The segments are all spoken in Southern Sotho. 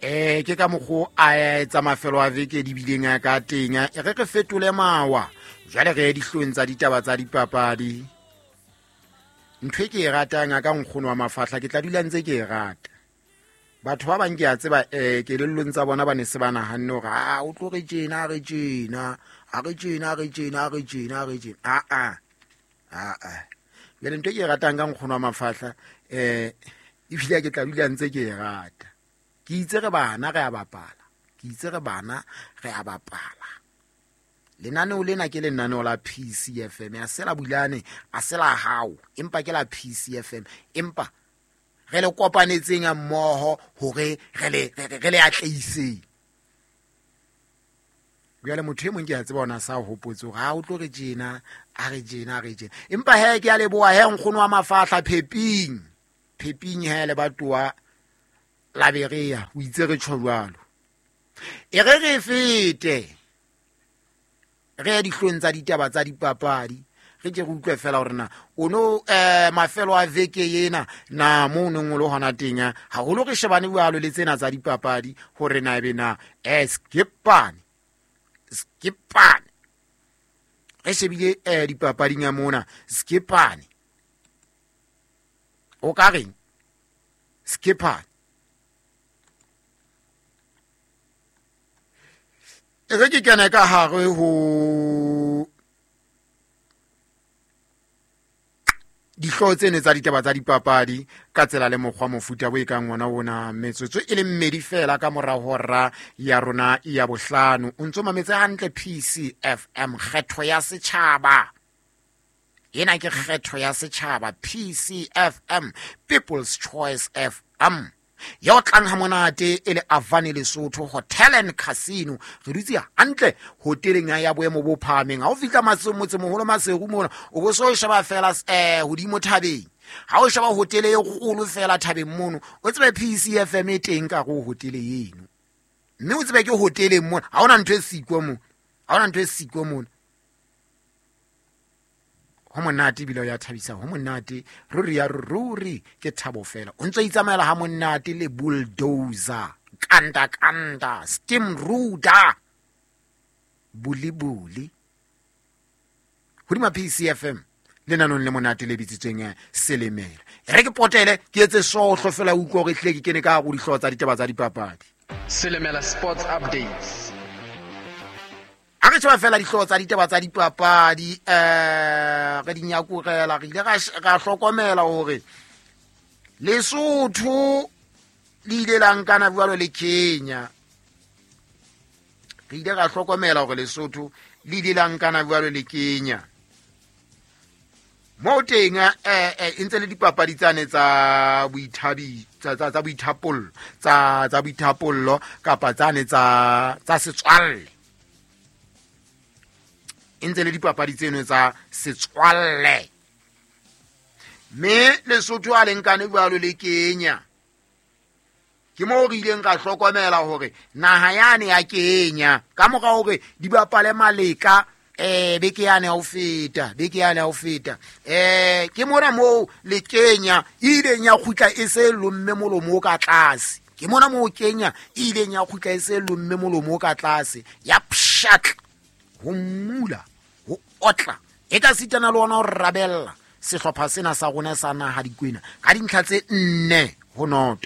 Ke ka mokgo a etsa mafelo a veke di bileng a ka teng. E re re fetole mawa jwale re ye dihlong tsa ditaba tsa dipapadi. Ntho e ke e ratang a ka nkgono wa mafahla, ke tla dula ntse ke e rata. Batho ba bang ke a tseba kelellong tsa bona ba ne se ba nahanne hore a o tlo re tjena, re tjena, a re tjena, re tjena, re tjena, re tjena. A a a a. Jwale ntho e ke e ratang ka nkgono wa mafahla, ebile ke tla dula ntse ke e rata. Ke itse re bana re a bapala, ke itse re bana re a bapala. Lenaneo lena ke lenaneo la PCFM, a se la Bulane, a se la hao, empa ke la PCFM, empa re le kopanetseng mmoho hore re le atlehiseng. Jwale motho e mong ke a tseba ona sa hopotse hore ha o tlo re tjena, a re tjena, a re tjena. Empa he ke a leboha he nkgono wa mafahla Pheping. Pheping he le batoa la Berea, o itse re tjho jwalo. E re re fete re ye dihlong tsa ditaba tsa dipapadi, re ke re utlwe fela hore na o no mafelo a veke ena na mo o neng o le hona teng, haholo re shebane jwalo le tsena tsa dipapadi hore na ebe na skipane skipane re shebile dipapading ya mona skipane o ka reng skipane. E re ke kene ka hare ho dihlooho tsene tsa ditaba tsa dipapadi ka tsela le mokgwa mofuta bo e kang ona ona, metsotso e le mmedi fela ka mora hora ya rona ya bohlano. O ntso mametse hantle PCFM, kgetho ya setjhaba. Ena ke kgetho ya setjhaba, PCFM, People's Choice FM. Ya o tlang ha monate e le Avani Lesotho Hotel and Casino. Re dutse hantle hoteleng ya boemo bo phahameng. Ha o fihla motsemoholo Maseru mona, o bo so sheba fela hodimo thabeng. Ha o sheba hotele e kgolo fela thabeng mono, o tsebe PCFM e teng ka go hotele eno. Mme o tsebe ke hoteleng mona, ha hona ntho e siko mona. Ha hona ntho e siko mona. Ho monate ebile o ya thabisa, ho monate ruri ya ruri ke thabo fela. O ntso itsamaela ha monate le bulldozer, kanda kanda, steam ruda, buli buli. Hodima PCFM lenanong le monate le bitsitsweng Selemela. E re ke potele ke etse sohlo fela utlwa hore ehlile ke kene ka hare ho dihlooho tsa ditaba tsa dipapadi. Selemela Sports Updates. Ha re sheba fela dihlooho tsa ditaba tsa dipapadi, re di nyakurela, re ile ra hlokomela hore Lesotho le ile la nkana jwalo le Kenya. Re ile ra hlokomela hore Lesotho le ile la nkana jwalo le Kenya. Moo teng, e ntse le dipapadi tsane tsa boithabi, tsa, tsa, tsa boithapollo, tsa, tsa boithapollo kapa tsane tsa, tsa setswalle. E ntse le dipapadi tseno tsa setswalle. Mme Lesotho a le nkane jwalo le Kenya. Ke moo re ileng ra hlokomela hore naha yane ya Kenya ka mora hore di bapale maleka, beke yane ya ho feta, beke yane ya ho feta. Ke mona moo le Kenya e ileng ya kgutla e se lomme molomo o ka tlase. Ke mona moo Kenya e ileng ya kgutla e se lomme molomo o ka tlase, ya pshatla, ho mmula, ho otla, e ka sitana le ona ho rabella sehlopha sena sa rona sa naha dikwena ka dintlha tse 4-0.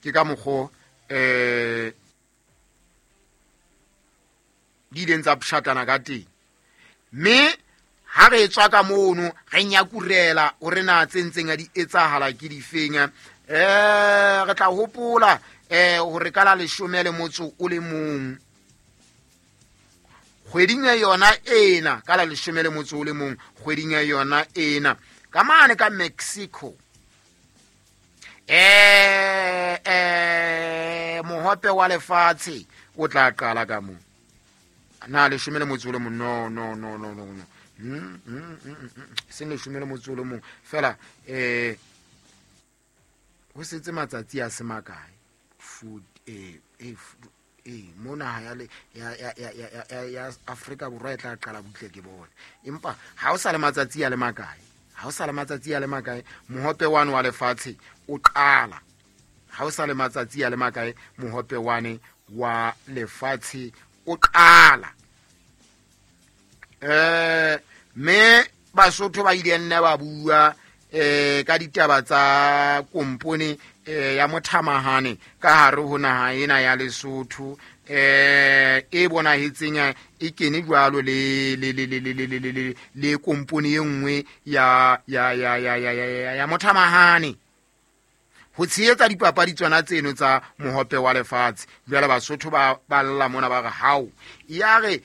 Ke ka mokgo, di ileng tsa pshatlana ka teng. Mme ha re tswa ka mono re nyakurela hore na tse ntseng di etsahala ke difeng. Re tla hopola, hore ka la leshome le motso o le mong kgweding ya yona ena, ka la leshome le motso o le mong kgweding ya yona ena, ka mane ka Mexico, mohope wa lefatshe o tla qala ka moo. Na leshome le motso o le mong? No, no, no, no, no, no. Seng leshome le motso o le mong fela, ho setse matsatsi a se makae. Food, mo naha ya le, ya, ya, ya, ya, ya, ya, ya Afrika Borwa e tla qala butle ke bone. Empa ha o sa le matsatsi a le makae, Ha o sa le matsatsi a le makae mohope wane wa lefatshe o qala. Ha o sa le matsatsi a le makae mohope wane wa lefatshe o qala. Mme Basotho ba ile nna ba bua ka ditaba tsa kompone ya mothamahane ka hare ho naha ena ya Lesotho, e bonahetseng e kene jwalo le le le le le le le le le kompone e nngwe ya ya ya ya ya ya ya mothamahane ho tshehetsa dipapadi tsona tseno tsa mohope wa lefatshe. Jwale Basotho ba lla mona ba re hao ya re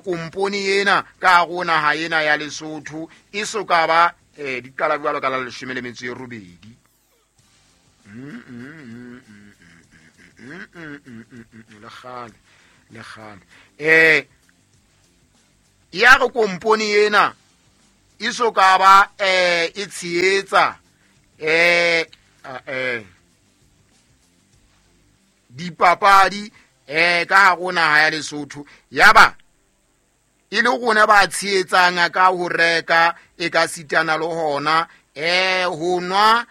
kompone ena ka hare ho naha ena ya Lesotho e so ka ba di qala jwalo ka la 18. Le kgale ya re kompone ena e so ka ba e tshehetsa dipapadi ka hare ho naha ya Lesotho, ya ba e le rona ba tshehetsang ka ho reka e ka sitana le hona ho nwa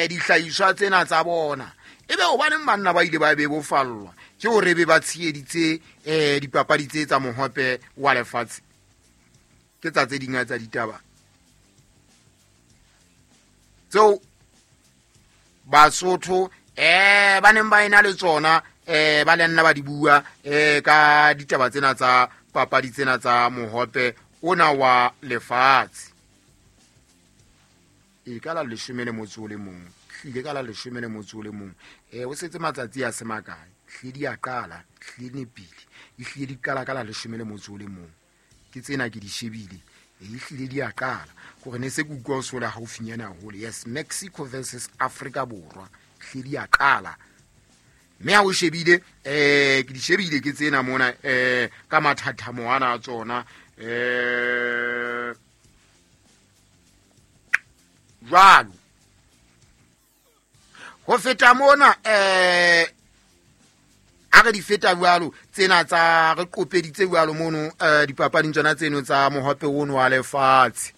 dihlahiswa tsena tsa bona. Ebe hobaneng banna ba ile ba bebofallwa ke hore be ba tsheheditse dipapadi tse tsa mohope wa lefatshe? Ke tsa tse ding tsa ditaba tseo Basotho ba neng ba ena le tsona, ba le nna ba di bua ka ditaba tsena tsa papadi tsena tsa mohope ona wa lefatshe. E ka la 11, hlile ka la 11. O setse matsatsi a se makae, hlile di a qala, hlile nepile, e hlile di qala ka la 11. Ke tsena ke di shebile, e hlile di a qala. Kore ne se ke utlwa o sola haufinyana haholo. Yes, Mexico versus Afrika Borwa, hlile di a qala. Mme ha o shebile, ke di shebile ke tsena mona ka mathathamo ana a tsona. Jwalo ho feta mona, a re di feta jwalo tsena tsa re qopeditse jwalo mono dipapading tsona tseno tsa mohope ono wa lefatshe.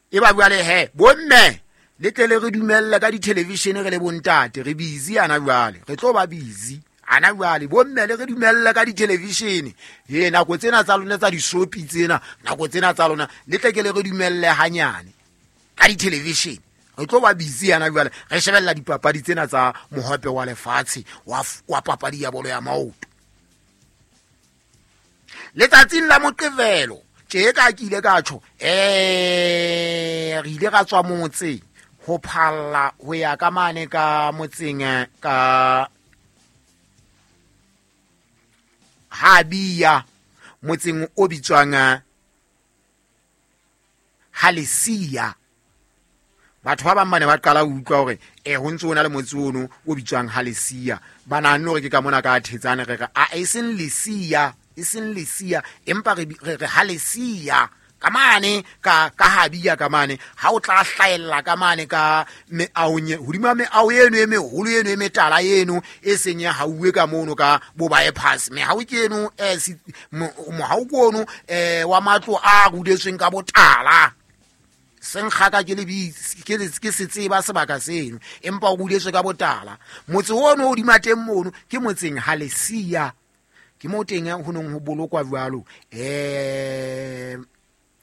E ba jwale he bomme le tle le re dumelle ka di-television re le bontate, re busy ana jwale, re tlo ba busy ana jwale. Bomme le re dumelle ka di-television, he nako tsena tsa lona tsa disopi tsena, nako tsena tsa lona le tle ke le re dumelle hanyane ka di-television. Re tlo ba busy ana jwale, re shebella dipapadi tsena tsa mohope wa lefatshe wa papadi ya bolo ya maoto. Letsatsing la Moqebelo tje ka ke ile ka tjho, re ile ra tswa motse ho phalla ho ya ka mane ka motseng ka Habia, motseng o bitswang Halesia. Batho ba bang ba ne ba qala ho utlwa hore ho ntse ho na le motse ono o bitswang Halesia. Ba nahanne hore ke ka mona ka Thetsane, re re a e seng Lesia, e seng Lesia, empa re re Halesia ka mane ka Habia ka mane. Ha o tla hlahella ka mane ka meahong hodima meaho eno e meholo eno e metala eno e seng ya hauwe ka mono ka bo bypass. Mehao ke eno mohao ke ono wa matlo a rudetsweng ka botala. Senkgaka ke lebitsi ke se tseba sebaka seno, empa o rudetswe ka botala. Motse ono o hodima teng mono ke motseng Halesia, ke mo teng ho neng ho bolokwa jwalo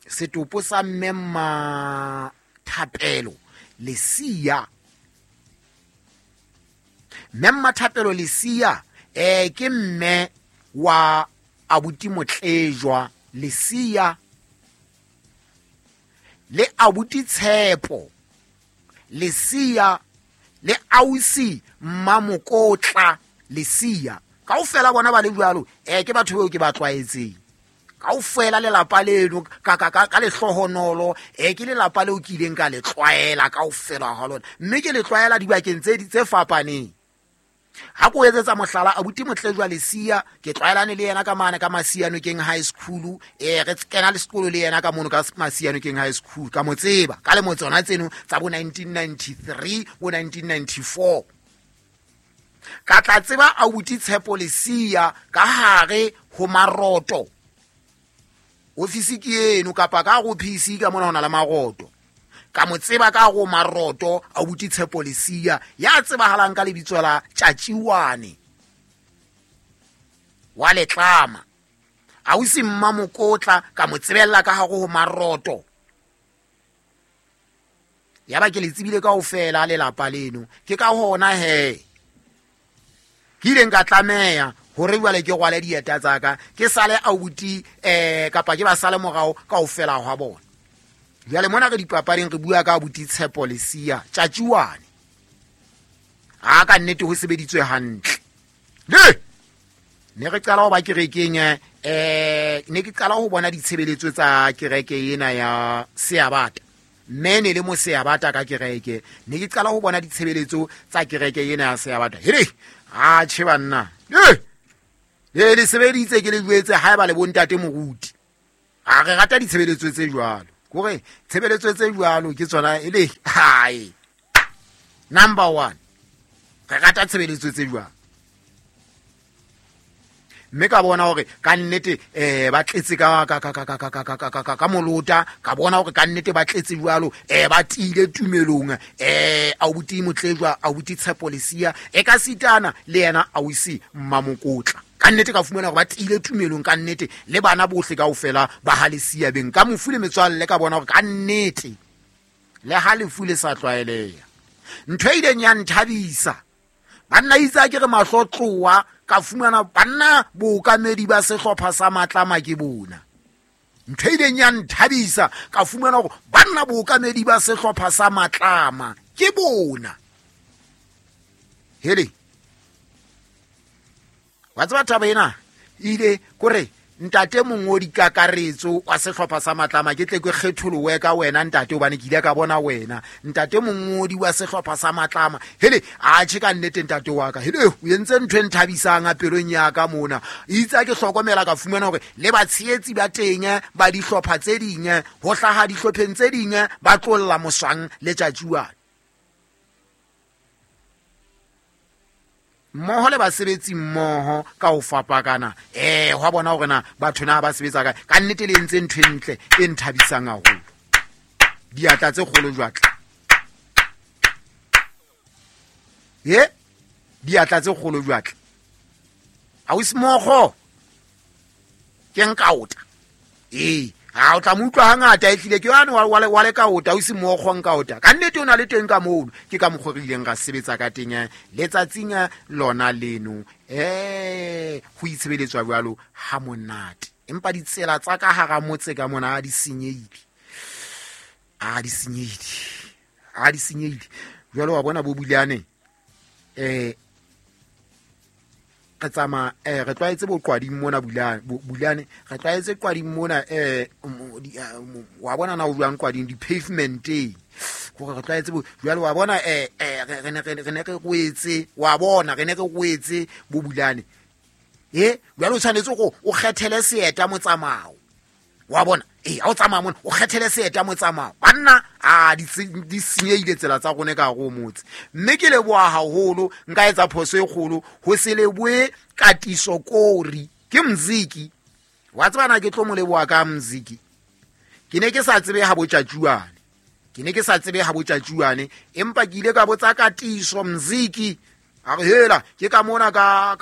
setopo sa mme Mmathapelo Lesia. Mme Mmathapelo Lesia ke mme wa abuti Motlejwa Lesia le abuti Tshepo Lesia le ausi Mmamokotla Lesia. Kaofela bona ba le jwalo, ke batho beo ke ba tlwaetseng. Kaofela lelapa leno ka lehlohonolo, ke lelapa leo ke ileng ka le tlwaela kaofela ha lona, mme ke le tlwaela dibakeng tse fapaneng. Ha ko etsetsa mohlala, abuti Motlejwa Lesia ke tlwaelane le yena ka mane ka Masianokeng High School, re kena le sekolo le yena ka mono ka Masianokeng High School, ka mo tseba ka lemo tsona tseno tsa bo 1993 bo 1994. Ka tla tseba abuti Tshepo Lesia ka hare ho Maroto, ofisi ke eno kapa ka go PC ka mona ho na le Maroto. Ka mo tseba ka go Maroto abuti Tshepo Lesia ya tsebahalang ka lebitso la Tjatjiwane wa Letlama. Ausi Mmamokotla ka mo tsebella ka hare ho Maroto. Ya ba ke le tsebile kaofela lelapa leno. Ke ka hona he ke ileng ka tlameha hore jwale ke rwale dieta tsa ka, ke sale abuti kapa ke ba sale morao kaofela hwa bona. Jwale mona re dipapading re bua ka abuti Tshepo Lesia Tjatjiwane. A ka nnete ho sebeditswe hantle. Le ne re qala ho ba kerekeng, ne ke qala ho bona ditshebeletso tsa kereke ena ya Seabata. Mme ne le mo Seabata ka kereke, ne ke qala ho bona ditshebeletso tsa kereke ena ya Seabata. Hele, a tjhe banna. Le le sebeditse ke le jwetse haeba le bontate moruti. A re rata ditshebeletso tse jwalo. Kore tshebeletso tse jwalo ke tsona e le hae. Number 1. Re rata tshebeletso tse jwalo. Mme ka bona hore ka nnete ba tletse ka molota, ka bona hore ka nnete ba tletse jwalo, ba tiile tumelong, abuti Motlejwa, abuti Tshepo Lesia, e ka sitana le yena ausi Mmamokotla. Ka nnete ka fumana hore ba tiile tumelong ka nnete, le bana bohle kaofela ba ha Lesia beng. Ka mofu le metswalle ka bona hore ka nnete le ha lefu le sa tlwaeleha. Ntho e ileng ya nthabisa, banna itse a ke re mahlo tloha, ka fumana banna bookamedi ba sehlopha sa Matlama ke bona. Ntho e ileng ya nthabisa, ka fumana hore banna bookamedi ba sehlopha sa Matlama ke bona. Hele, wa tseba taba ena ile kore ntate mongodi kakaretso wa sehlopha sa Matlama, ke tle ke kgetholowe ka wena ntate, hobane ke ile ka bona wena ntate mongodi wa sehlopha sa Matlama. Hele, a tjhe ka nnete ntate wa ka, hele o entse ntho e nthabisang a pelong ya ka mona. Itse ha ke hlokomela ka fumana hore le batshehetsi ba teng ba dihlopha tse ding, ho hlaha dihlopheng tse ding ba tlolla moswang le Tjatjiwane mmoho le basebetsi mmoho ka ho fapakana. Hwa bona hore na batho na ba sebetsa kae. Ka nnete le entse ntho e ntle e nthabisang haholo. Diatla tse kgolo jwatla. Ye, diatla tse kgolo jwatla. Ausi Mokgo ke nkaota. Ha o tla mo utlwa hangata e tlile ke yane wa le kaota, ausi Mokgo nkaota. Ka nnete o na le teng ka mono. Ke ka mokgwa re ileng ra sebetsa ka teng, letsatsing lona leno. Ho itshebeletswa jwalo ha monate. Empa ditsela tsa ka hara motse ka mona ha di senyehile. Ha di senyehile. Ha di senyehile. Jwale wa bona bo Bulane, re tsamaya, re tlwaetse boqwading mona Bulane, Bulane, re tlwaetse qwading mona, wa bona na o jwang qwading, di-pavementeng. Hore re tlwaetse bo, jwale wa bona, re ne re, re ne re rwetse, wa bona, re ne re rwetse bo Bulane. Jwale o tshwanetse hore o kgethele seeta motsamao. Wa bona? Ha o tsamaya mona, o kgethele seeta motsamao. Banna, a, di senyehile tsela tsa rona ka hare ho motse. Mme ke leboha haholo, nka etsa phoso e kgolo ho se lebohe Katiso Kori. Ke Mziki. Wa tseba na ke tlo mo leboha ka Mziki? Ke ne ke sa tsebe ha bo Tjatjiwane. Ke ne ke sa tsebe ha bo Tjatjiwane, empa ke ile ka botsa Katiso Mziki. A re hela, ke ka mona ka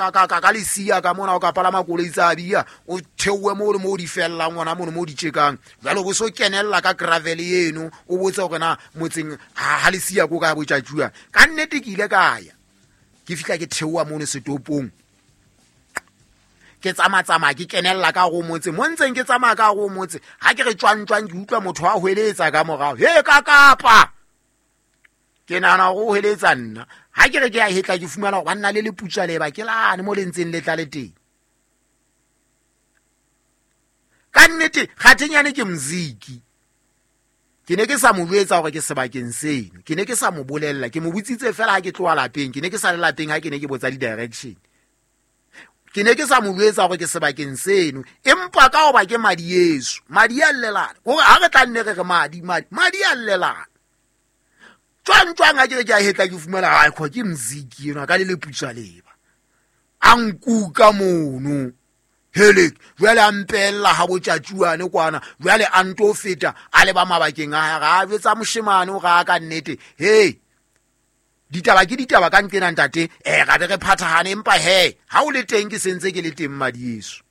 Lesia ka mona o ka palama koloi tsa bia, o theohe moo le moo di fellang hona mono moo di tjekang. Jwale o bo so kenella ka gravel eno, o botse hore na motseng ha Lesia ko ka bo Tjatjiwane. Ka nnete ke ile ka ya. Ke fihla ke theoha mono setopong. Ke tsamaya-tsamaya, ke kenella ka hare ho motse. Mo ntseng ke tsamaya ka hare ho motse, ha ke re tjwang-tjwang, ke utlwa motho a hweletsa ka morao. He, ka kapa! Ke nahana hore o hweletsa nna. Ha ke re ke a hetla, ke fumana hore banna le leputswa leba ke lane mo le ntseng le tla le teng. Ka nnete, kgathenyane ke Mziki. Ke ne ke sa mo jwetsa hore ke sebakeng seno. Ke ne ke sa mo bolella, ke mo botsitse fela ha ke tloha lapeng. Ke ne ke sa le lapeng ha ke ne ke botsa di-direction. Ke ne ke sa mo jwetsa hore ke sebakeng seno, empa ka hoba ke madi yeso, madi a llelana. Hore ha re tla nne re re madi, madi, madi a llelana. Jwang, jwang ha ke re ke a hetla ke fumana, ai, kho ke Mziki enwa ka le leputswa leba. A nkuka mono. Helek jwale a mpella ha botjatjuane kwana, jwale a nto feta a leba mabakeng a hae, ga jwetsa moshemane o ga ka nnete. Hey, ditaba ke ditaba ka nqena ntate, ga be re phathahane, empa he ha o le teng ke sentse ke le teng madieso.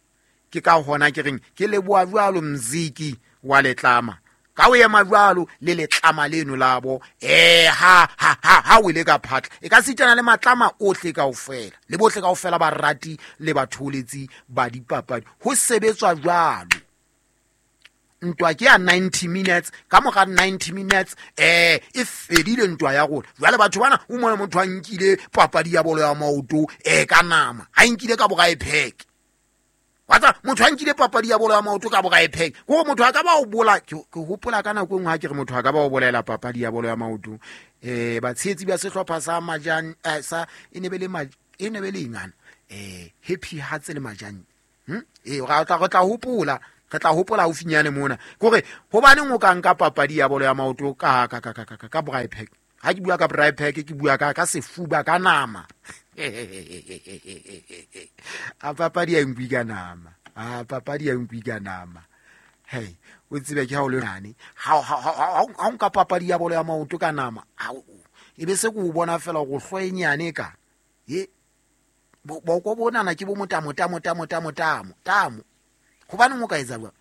Ke ka hona ke reng ke leboha jwalo mziki wa letlama, ka o ema jwalo le letlama leno labo, ha ha ha ha o ile ka phatla e ka sitana le matlama ohle kaofela, le bohle kaofela ba rati le batholetsi ba dipapadi. Ho sebetswa jwalo. Ntwa ke ya 90 minutes, ka mora 90 minutes e fedile ntwa ya rona. Jwale batho bana o mona motho a nkile papadi ya bolo ya maoto ka nama, a nkile ka borae pheke. Wa motho a nkile papadi ya bolo ya maoto ka borae pheke, kore motho a ka ba o bola. Ke hopola ka nako e nngwe ha ke re motho a ka ba o bolaela papadi ya bolo ya maoto, batshehetsi ba sehlopha sa Majan, sa e ne be le e ne be le ingana, Happy Hearts le Majan. Re tla hopola, re tla hopola haufinyane mona kore hobaneng o ka nka papadi ya bolo ya maoto ka ka ka ka ka ka braai pack. Ha ke bua ka braai pack, ke bua ka sefuba ka nama. A papadi ya nkwi ka nama, a papadi ya nkwi ka nama. Hey, o tsebe ke ha o le nane, ha nka papadi ya bolo ya maoto ka nama, e be se ke o bona fela go hloenyane ka e boko bonana ke bo motamo tamo tamo tamo tamo tamo. Hobaneng o ka etsa jwang?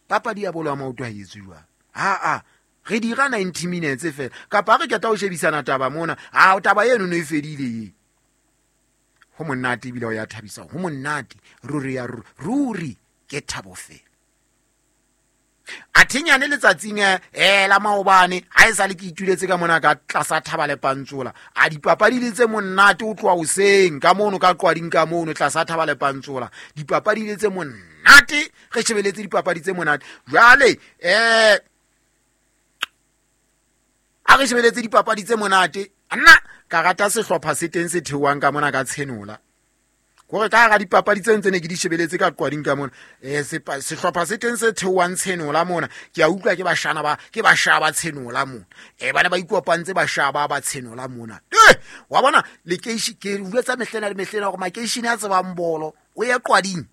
Papadi ya bolo ya maoto ha e etswe jwang? Ha re dira 90 minutes fela, kapa re keta ho shebisana taba mona, a taba eno no e fedile ye. Ho monate ebile o ya thabisa, ho monate ruri ya ruri ke thabo fela. A thenyane letsatsing la maobane ha e sale ke ituletse ka mona ka tlasa thaba le pantsola, a dipapadi le tse monate o tloha hoseng ka mono ka qwading ka mono tlasa thaba le pantsola, dipapadi le tse monate, re shebeletse dipapadi tse monate. Jwale a re shebeletse dipapadi tse monate, nna ka rata sehlopha se teng se theohang ka mona ka tshenola. Kore ka hara dipapadi tse ntse ne ke di shebeletse ka qwading ka mona, sehlopha se teng se theohang tshenola mona, ke a utlwa ke bashana ba ke bashaba tshenola mona, bana ba ikopantse bashaba ba tshenola mona. Wa bona lekeishi ke utlwetsa mehlena le mehlena hore makeishene a tsebang bolo, o ye qwading,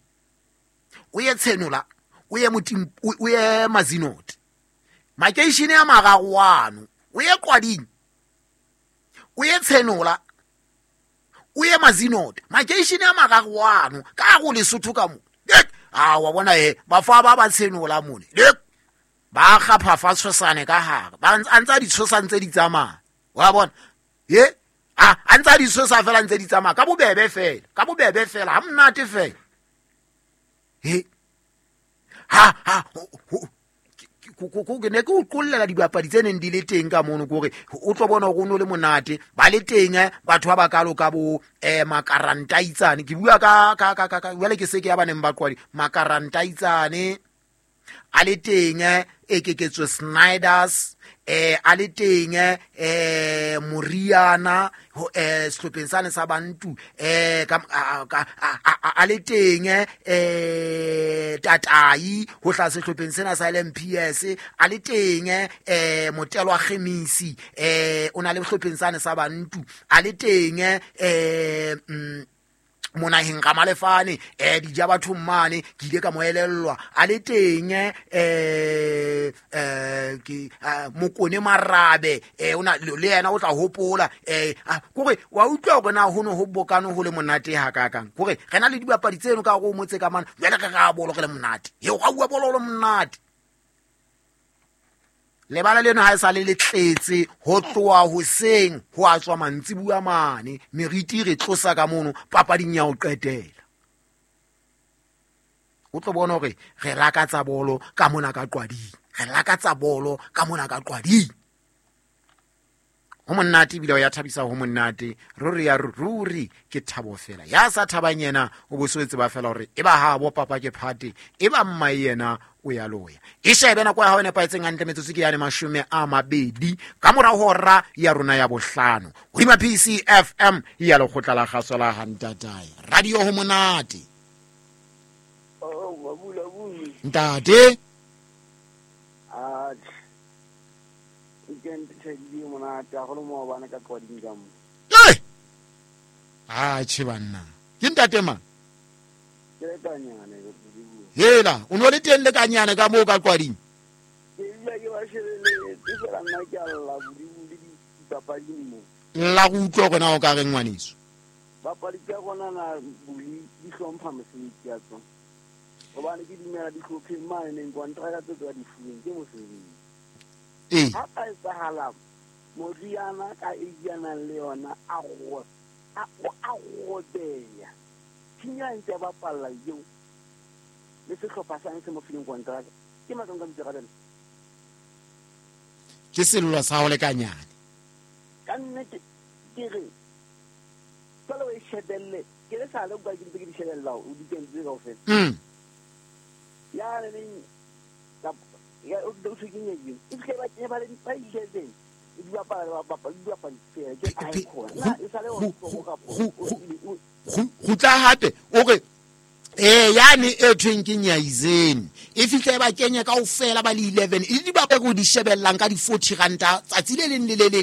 o ye tshenola, o ye motim, o ye Mazinot, makeishene a mararo ano, o ye qwading, o ye tshenola, o ye Mazinot, makeishene a mararo ano ka go Lesotho ka mo. A wa bona bafa ba tshenola mone, ba kgapha fa tshosane ka hare, ba ntsa di tshosa ntse di tsamaya. Wa bona a ntsa di tshosa fela ntse di tsamaya ka bobebe fela, ka bobebe fela, ha monate fela. Ha ha ke ne ke o qollela dibapadi tse neng di le teng ka mono, kore o tlo bona hore o no le monate, ba le teng batho ba bakalo ka bo makarantaitsane. Ke bua ka ka ka ka jwale ke se ke ya baneng ba qwadi, makarantaitsane a le teng, Ekeketso Snyders, a le teng, Moriana sehlopheng sane sa Bantu, a le teng, Tatai ho hlaha sehlopheng sena sa LMPS, a le teng, Motelwa Khemisi, o na le sehlopheng sane sa Bantu, a le teng, monaheng Ramalefane, dija batho mane ke ile ka mo elellwa, a le teng, ke Mokone Marabe, ona le yena o tla hopola, kore wa utlwa hore na ho no ho bokane ho le monate ha kakang, kore re na le dibapadi tseno ka hore o motse ka mana, jwale re ra bolo re le monate, eo ga bua bolo le monate. Lebala leno ha e sa le le tletse ho tloha hoseng ho a tswa mantsibuya mane, meriti re tlosa ka mono papading ya ho qetela. O tlo bona hore re lakatsa bolo ka mona ka qwading, re lakatsa bolo ka mona ka qwading. Ho monate ebile o ya thabisa, ho monate ruri ya ruri ke thabo fela. Ya sa thabang yena o bo se tseba fela hore e ba ha bo papa ke phate, e ba mma yena o ya loya. E shebe nako ya hao e nepahetseng hantle, metsotso ke yane 20 ka mora hora ya rona ya 5 hodima PCFM ya lekgotla la kgaso la Hantatae radio. Ho monate ntate. A che banna ke ntate mang? Ke le kanyane Bodibodi. Hela, o no le teng le kanyane ka moo ka qwading? Ke dula ke ba shebeletse fela nna ke a lla Bodibodi dipapading mo. Lla go utlwa gore na o ka reng ngwaneso. Bapadi tsa rona na boli di hlompha mosebetsi ya tsona. Hobane ke dumela dihlopheng mane neng kontraka tse tswa di fuweng ke mosebetsi. Ee. Ha ka etsahala moriana ka e nang le yona a go a robeya. Thinya ntse a bapalla eo le sehlopha sa se mo fileng kontraka. Ke matsong ka boikarabelo. Ke sello sa ho lekanyane. Ka nnete ke re jwale o e shebelle ke le sale kwa ke ntse ke di shebella o di kentse kaofela. Ya neng ya o thwe ke nyedi. E se ba ke ba le ba 11 di bapala ba bapala di bapala fela ke a e khona. E sale o ka Go tla hape o re yane e thweng ke Nyaizeni e fihle ba kenya kaofela ba le 11 e di ba go di shebellang ka di 40 ranta tsatsi le leng le le leng.